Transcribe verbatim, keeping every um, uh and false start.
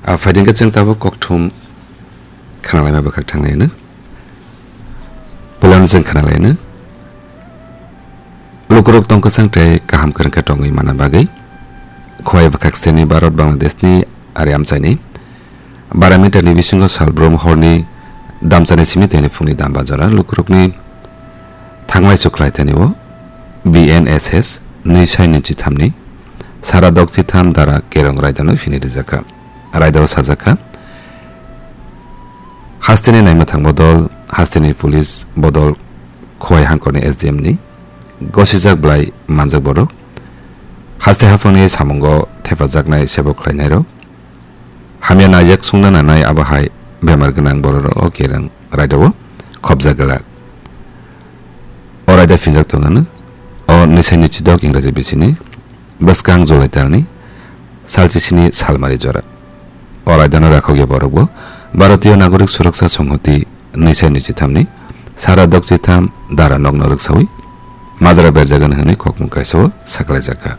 A phaidingkhe chwng tabuk kokthum khnalaima bwkhak thanglaino. Puilano chwng khnalaino. Lukurok tongkwsang tei kaham kwrwngkhe tongwi manna bagwi Khowai bwkhak steni Bharat Bangladeshni ari amchaini bara meterni bisingo salbrum horni damchani simi tei phungni damba jora lukurokni thanglai chukhlai thani o B N S S nwi sai nwi chithamni sara dok chitham dara kerong raidano phini rijakha. Raidao sajakha, hasteni naima thangbo dol, hasteni police bodol Khowai hangkorni S D M ni gosijak blai manjak borok, haste haphangni samungo thepajaknai sebo khlainairok, hamya naijak sungna nanai abo hai bemar gwnang bororok o kereng raidao khopjak glak. O raida phinjak tongano o nwi sai nwi chidok Ingraji bisini bwskang July talni salchisini salmari jora. O raidano rakhokya borokbo Bharatiya Nagorik Suraksa Songhoti nwi sai nwi chithamni sara dok chitham dara nokno rwksawi majra berjagan hwnwi kokmung kaisao saklaijakha.